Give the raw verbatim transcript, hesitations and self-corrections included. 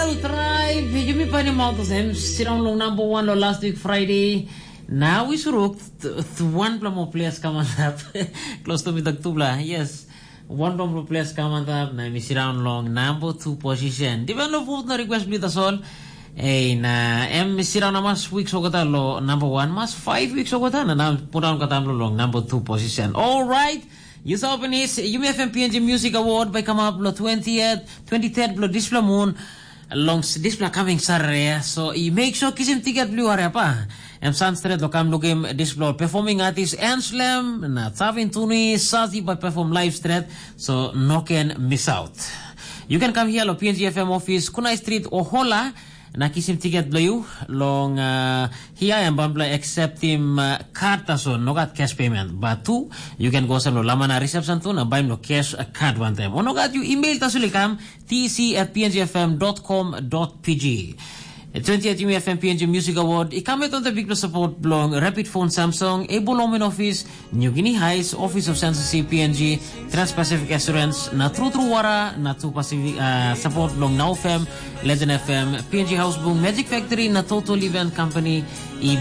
Trai, yumi painim aut olsem, sindaun long namba wan long last week Friday. Na wi suruk, wanpela moa ples kam antap. Klos tu mi tok tupela, yes. Wanpela moa ples kam antap, na mi sindaun long namba tu position. Divan lo vote na request bli tasol. Ei, na em sindaun na mas week sokota lo namba wan, mas five week sokota, na na pundaun katam lo long namba tu position. Alright, you saw finish, Yumi F M P N G Music Award by come up lo twentieth, twenty-third lo dispela moon. Long s- dispela coming Saturday, so i make sure kisim tiket blu hariapa. Em san stret lo kam lukim dispela performing artist Anslem, na Tavin Tuni, Sazi by perform live stret, so no can miss out. You can come here lo P N G F M office, Kunai Street, Ohola, na kisim tiket blo you long uh, here em bambla accept him uh, card taso, no got cash payment. But two, you can go sem lo lamana reception tu na baim lo cash uh, card one time. O no got you email taso likam, T C at P N G F M dot com dot P G. E twenty-eight Yumi F M P N G Music Award i come with the big support belong Rapid Phone Samsung, Able Home in Office, New Guinea Heights, Office of Census C P N G, Trans-Pacific Assurance, na True True Wara, na True Pacific uh, support belong Now F M, Legend F M, P N G House Boom, Magic Factory, na Total Event Company, i